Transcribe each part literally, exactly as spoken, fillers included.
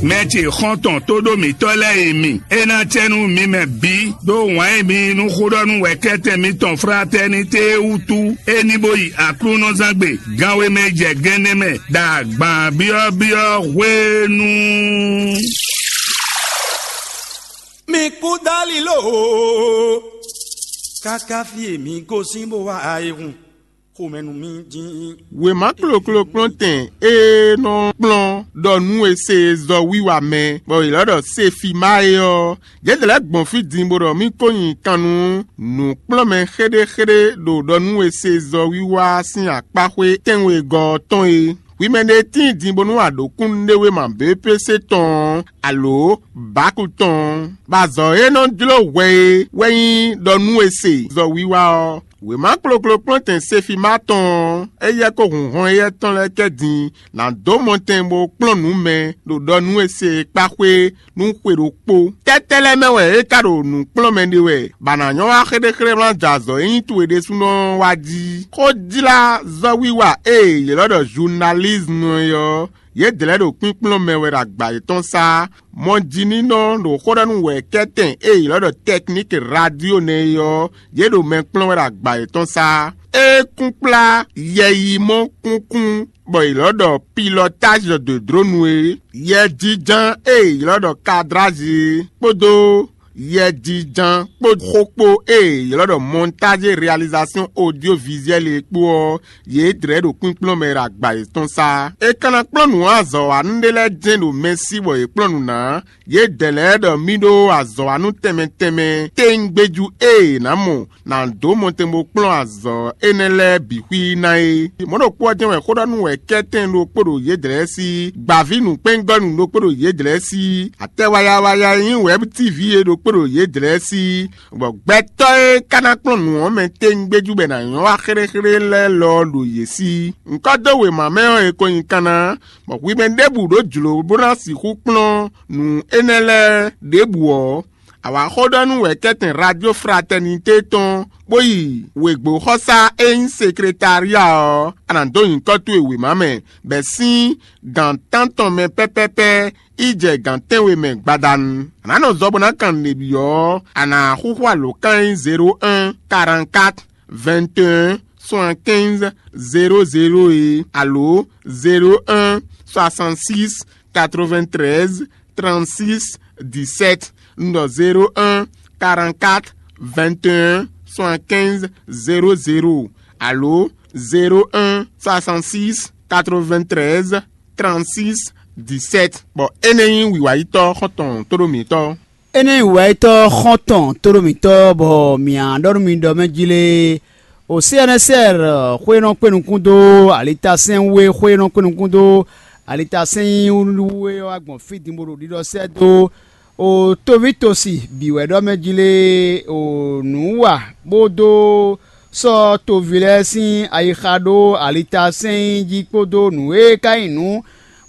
Mɛ ce xɔ́ntɔn tóɖó mǐtɔn lɛ́ɛ e mi, é ná cɛ nú mi mɛ bǐ ɖó wǎn e mi yí nú xóɖɔ́nú wɛ̌kɛ́tɛn mitɔn Fratɛnité é wútu, é ní bó yi Aklúnɔzán gbe ganwe mɛ jɛ gɛnɛ mɛ ɖo agban byɔ́byɔ́ hwenu. Mi kú dali lo o, káká fí e mi gosín bó wá ayihun xomɛ nú mi dín. Wěma kloklo kplɔ́ntɛn e nɔ kplɔ́n ɖɔ nú e se zɔ wiwa mɛ, bɔ è lɔ́ ɖɔ Sefima é ɔ́, yědɛɛ lɛ́ɛ gbɔn fí din bó ɖɔ mì ko nyi kan nú nǔkplɔ́nmɛ xéɖéxéɖé ɖo ɖɔ nú e se zɔ wiwa sín akpáxwé tɛ́nwegɔ́ ɔ́ tɔn é. Hwi mɛ ɖé tíin din bónú a ɖǒ kúnnuɖewéma B P C tɔn ɔ́, alǒ Baku tɔn ɔ́, bɔ azɔ̌ e nɔ jló hwɛ é wɛ nyí ɖɔ nú e se zɔ wiwa ɔ́. Wěma kloklo kplɔ́ntɛn Sefima tɔn ɔ́, éyɛ́ kó hun hɔn éyɛ́ tɔn lɛ́ɛ kɛ din ná dó mɔtɛn bó kplɔ́n nǔ mɛ ɖo ɖɔ nú e se e kpá xwé nú xwe ɖokpó. Tɛ́tɛ́ lɛ́ɛ mɛ wɛ é ka ɖo nǔ kplɔ́n mɛ ɖe wɛ, bɔ a nǎ nyɔ́ wá xéɖéxéɖé wlán jɛ azɔ̌ e nyí towe ɖésúnɔ ɔ́ wá jí? Xó jlá zɔ́wiwa e è ylɔ́ ɖɔ zunalízmu é ɔ́, yědɛɛ lɛ́ɛ ɖo kpínkplɔ́n mɛ wɛ ɖo agba yětɔn sá. Mɔjininɔ ɖo xó ɖɔ nú wɛ̌kɛ́tɛn e è ylɔ́ ɖɔ tɛkníki radio nɛ́ é ɔ́, yě ɖo mɛ kplɔ́n wɛ ɖo agba yětɔn sá. É kún kplá yɛyimɔ kúnkún bɔ è lɔ̌ ɖɔ pilɔtázi de dronu é, yɛjínján e è ylɔ́ ɖɔ kadrázi é, kpódó yɛjínján kpó xó kpó e è ylɔ́ ɖɔ mɔntázi réalizasyon odyovizuɛ́li é kpó ɔ́, yě dlɛ̌ ɖo kpínkplɔ́n mɛ ɖo agba yětɔn sá. È ka ná kplɔ́n nǔ azɔ̌wanú ɖé lɛ́ɛ jɛ́n ɖo mɛ sí bɔ yě kplɔ́n nǔ ná. Yědɛɛ lɛ́ɛ ɖɔ mì ɖó azɔ̌wanú tɛnmɛ tɛnmɛ téńgbéjú e è nǎ mɔ ná dó mɔtɛn bó kplɔ́n azɔ̌ énɛ́ lɛ́ɛ bǐ xwí ná é. Mɔ̌ ɖokpó ɔ́ jɛ́n wɛ xó ɖɔ nú wɛ̌kɛ́tɛn ɖokpó ɖo yědɛɛ lɛ́ɛ sí, gbǎví nǔkpɛ́ngɔ́nú ɖokpó ɖo yědɛɛ lɛ́ɛ sí, atɛ wayawaya e nyí wɛ̌b tíví é ɖokpó ɖo yědɛɛ lɛ́ɛ sí, bɔ gbɛtɔ́ e ka ná kplɔ́n nǔ ɔ́ mɛ téńgbéjú bɔ è nǎ nyɔ́ wá xéɖéxéɖé lɛ́ɛ lɔ ɔ́ ɖo yě sí. Ŋkɔ́ dó wěma mɛ ɔ́, è ko nyi kanna, bɔ hwi mɛ ɖěbǔ ɖó jlǒ bó ná sixú kplɔ́n nǔ énɛ́ lɛ́ɛ ɖěbǔ ɔ́, a wǎ xó ɖɔ nú wɛ̌kɛ́tɛn Radio Fraternité tɔn, bó yi wěgbóxɔsá e nyí sekretária ɔ́, a nǎ dó nyǐkɔ towe wěma mɛ, bɔ è sín gǎn tántɔn mɛ pɛ́pɛ́pɛ́ yi jɛ gǎn tɛ́nwe mɛ gbadanu. A nǎ nɔ zɔ bó ná kan nǔɖé byɔ́ ɔ́, a nǎ xúxú alǒkan e nyí zéro un, quarante-quatre, vingt et un, soixante-quinze, zéro zéro é, alo zéro un, soixante-six, quatre-vingt-treize, trente-six, dix-sept, un ɖɔ zéro un, quarante-quatre, vingt et un, soixante-quinze, zéro zéro, alo zéro un, soixante-six, quatre-vingt-treize, trente-six, dix-sept. Bɔ énɛ́ nyí wǐwáyítɔ́ xɔ́ntɔn tóɖó mǐtɔn. Énɛ́ nyí wǐwáyítɔ́ xɔ́ntɔn tóɖó mǐtɔn, bɔ mǐ á ɖɔ nú mi ɖɔ mɛ jí lé, o C N S R xwé nɔ kpé nukún dó alitasɛ́n wú é, xwé nɔ kpé nukún dó alitasɛ́n nyí wú é ɔ́ wá gbɔn fí din bó ɖo ɖiɖɔ sɛ́ dó o toví tosi bǐ wɛ ɖɔ mɛ jí lé, o nǔ wa bó dó sɔ́ toví lɛ́ɛ sín ayixa ɖó alitasɛ́n jí kpódó nǔ e ka nyí nǔ,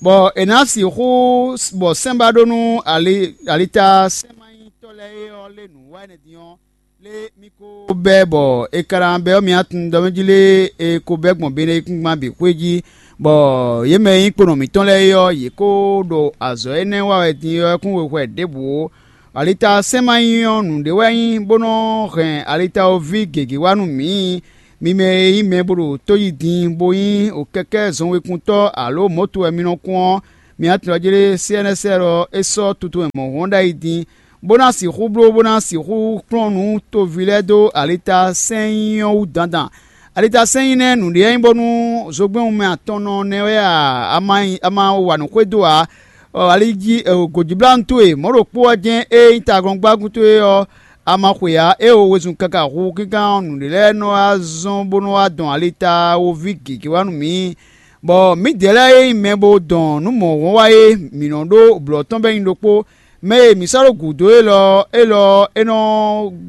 bɔ è nǎ sixú bɔ sɛ́n ba ɖó nú ali alitasɛ́nmanyitɔ́ lɛ́ɛ é ɔ́ lé nǔ wa énɛ́ din ɔ́, lé mì ko bɛ́ bɔ è ka ná bɛ́ ɔ́ mì atun ɖɔ mɛ jí lé, è ko bɛ́ gbɔn Beneyíkúngban bǐ xwé jí, bɔ yě mɛ e nyí kponɔ mǐtɔn lɛ́ɛ é ɔ́, yě ko ɖo azɔ̌ énɛ́ wa wɛ din ɔ́ kún wexwɛ ɖěbǔ ó. Alita sɛ́n ma nyí ɔ́, nǔɖé wɛ nyí bó nɔ́ hɛn alitawoví gěgé wá nú mǐ. Mi mɛ e nyí mɛ bó ɖo tó yí din, bó nyí kɛkɛ́ zɔnwekuntɔ́ alo mɔ̌to wɛ mi nɔ kún ɔ́, mi atɔn jí lé C N S L ɔ́, é sɔ́ tuntun e mɔ̌ hɔn ɖ'ayǐ din, bó ná sixú bló, bó ná sixú kplɔ́n nǔ toví lɛ́ɛ dó alita sɛ́n nyí ɔ́ wú dandan. Alita sɛ́n nyí nɛ́ nǔɖé nyí bónú zogbɛ́n wunmɛ atɔnnɔ nɛ́ wɛ a, a ma nyí, a ma wa nǔ xwedó ǎ. Ɔ, ali jí ɛ, gǒjíblánú towe mɔ̌ ɖokpó ɔ́ jɛ́n e nyí tagɔ́ngbágun towe ɔ́, a ma xwe ǎ. É o wezun káká hu kínkán ɔ́, nǔɖé lɛ́ɛ nɔ wá zɔ́n bó nɔ wá dɔn alita woví gěgé wá nú mǐ, bɔ mǐdɛɛ lɛ́ɛ e nyí mɛ bo dɔn nǔ mɔ̌hɔn wá é, mǐ nɔ ɖó blɔ̌ tɔn bɔ é nyí ɖokpó. Mɛ e mǐ sɔ́ ɖó gǔdo élɔ́ ɔ́, élɔ́ ɔ́, é nɔ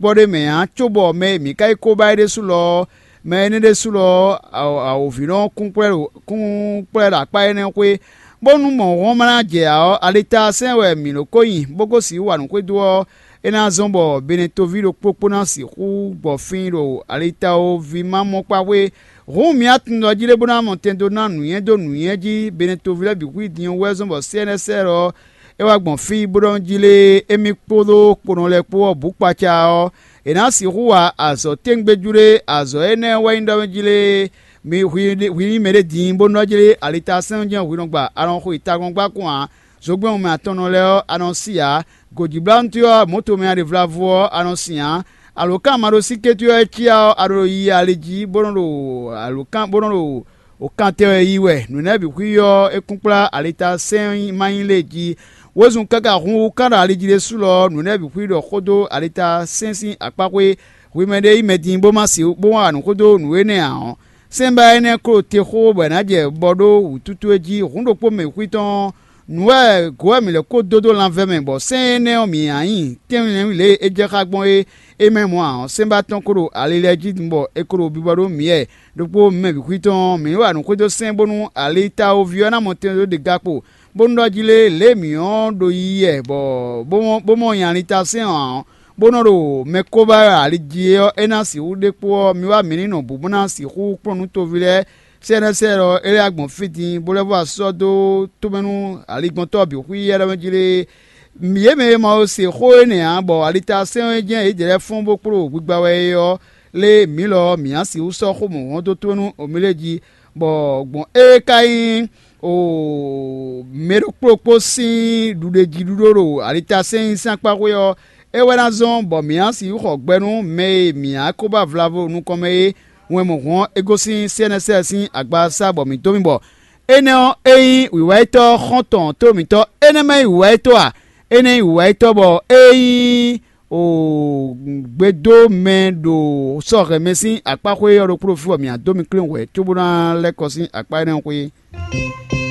gbɔ ɖ'é mɛ ǎ, cóbɔ mɛ e mǐ ka yi kó ba é ɖésú lɔ ɔ́, mɛ énɛ́ ɖésú lɔ ɔ́, awǒvi nɔ kún kplɔ́ ɖo akpá énɛ́ xwé, bónú mɔ̌ hɔn ma ná jɛ ǎ ɔ́, alita sɛ́n wɛ mǐ ɖo kó nyi, bó ko sixú wa nǔ xwedó ɔ́, é ná zɔ́n bɔ Benetoví ɖokpó kpó ná sixú gbɔ fín ɖo alitawoví ma mɔ kpá xwé. Hǔn mǐ atundɔ jí lé bó ná mɔ tɛn dó ná nǔnywɛ́ dó nǔnywɛ́ jí. Benetoví lɛ́ɛ bǐ xwí din ɔ́ wɛ zɔ́n bɔ C N S L ɔ́, é wá gbɔn fí bó ɖɔ nú jí lée, émí kpódó kponɔ lɛ́ɛ kpó ɔ́ bǔ kpaca ɔ́, è nǎ sixú wa azɔ̌ tɛ́ngbéjú ɖé. Azɔ̌ énɛ́ wɛ nyí ɖɔ nú jí lée, mi hwi hwi nyí mɛɖé din bónú ɔ́ jlé alitasɛ́n ɔ́ jɛ́n hwi nɔ gba, a nɔ xo yi tagɔ́ngbákún ǎ. Zogbɛ́n wunmɛ atɔnnɔ lɛ́ɛ ɔ́, a nɔ sí ǎ. Gǒjíblánútɔ́ ɔ́, mɔ̌tomɛ ɖěvlávo ɔ́, a nɔ sin ǎ. Alǒkan maɖósíkétɔ́ ɔ́ e cyá ɔ́, a ɖo yi ali jí bó nɔ́ ɖo alǒkan bó nɔ́ ɖo wǒkantɛn wɛ yi wɛ. Nǔ énɛ́ bǐ xwí ɔ́, é kún kplá alitasɛ́n ma nyí lě jí. Wezun káká hun wú kán ɖo ali jí ɖésú lɔ ɔ́, nǔ énɛ́ bǐ xwí ɖɔ xó dó alitasɛ́n sín akpá xwé. Hwi mɛ ɖé yí mɛ din bó ma se bó ma wa nǔ xó dó nǔ énɛ́ ǎ ɔ́, sɛ́nbá énɛ́ klo te xó bɔ è nǎ jɛ bɔ ɖó wǔtútú é jí. Hǔn ɖokpó mɛ xwí tɔn ɔ́, nǔ wɛ gǒ wɛ mǐ lɛ́ kó dó dó lanvɛ mɛ, bɔ sɛ́n énɛ́ ɔ́, mǐ ǎ nyi tɛ́nwínlɛ́nwín lě e é jɛ xá gbɔn é, é mɛ mɔ̌ ǎ ɔ́, sɛ́nbá tɔn ko ɖo ali lɛ́ɛ jí din bɔ è ko ɖo biba ɖó mǐ wɛ. Ɖokpó mɛ bǐ xwí tɔn ɔ́, mǐ wa nǔ xwedó sɛ́n bónú alitawoví ɔ́ ná mɔ tɛn dó ɖe ga kpo, bónú ɖɔ jí lé lě e mǐ ɔ́ ɖo yiyi wɛ bɔ bó mɔ bó mɔ nya alitasɛ́n ɔ́ ǎ ɔ́, bó nɔ́ ɖo mɛ kóbá ali jí é ɔ́, é ná sixú ɖe kpó ɔ́, mi wá mǐ ní nɔ bǔ bó ná sixú kplɔ́n nú toví lɛ́ɛ sɛ́nɛ́sɛ́ ɔ́, é lɛ́ wá gbɔn fí din, bó lɛ́ vɔ asɔ́ dó tomɛ nú aligbɔntɔ́ bǐ xwí yɛ́ɖɔ́ mɛ jí lée. Yě mɛ e ma ko se xó énɛ́ ǎ, bɔ alitasɛ́n ɔ́ jɛ́n yědɛɛ lɛ́ɛ fɔ́n bó kpló gbigba wɛ é ɔ́, lé mǐ lɔ ɔ́, mǐ ná sixú sɔ́ xó mɔ̌hɔn dó tomɛ nú Omilée jí, bɔ gbɔn ée ka nyí o mɛ ɖokpó ɖokpó sín ɖuɖéjíɖuɖó ɖo alitasɛ́n nyi sín akpá xwé ɔ́, é wɛ ná zɔ́n bɔ mǐ ná sixú xɔ gbɛ nú mɛ e mǐ ná ko ba vlavo nukɔn mɛ é. Wɛn mɔ̌hɔn ɔ́, é gosín sɛ́nɛsɛ́ sín agbasá bɔ mǐ dó mì bɔ énɛ́ ɔ́, é nyí wǐwáyítɔ́ xɔ́ntɔn tó mǐtɔn. Énɛ́ ma nyí wǐwáyítɔ́ a? Énɛ́ nyí wǐwáyítɔ́ bɔ é nyí o gbedó mɛ ɖo sɔ́ hɛn mɛ sín akpá xwé ɔ́ ɖokpó ɖo fí bɔ mǐ ná dó mi klín hwɛ̌ cóbó ná lɛ́ kɔ sín akpá énɛ́ ɔ́ xwé.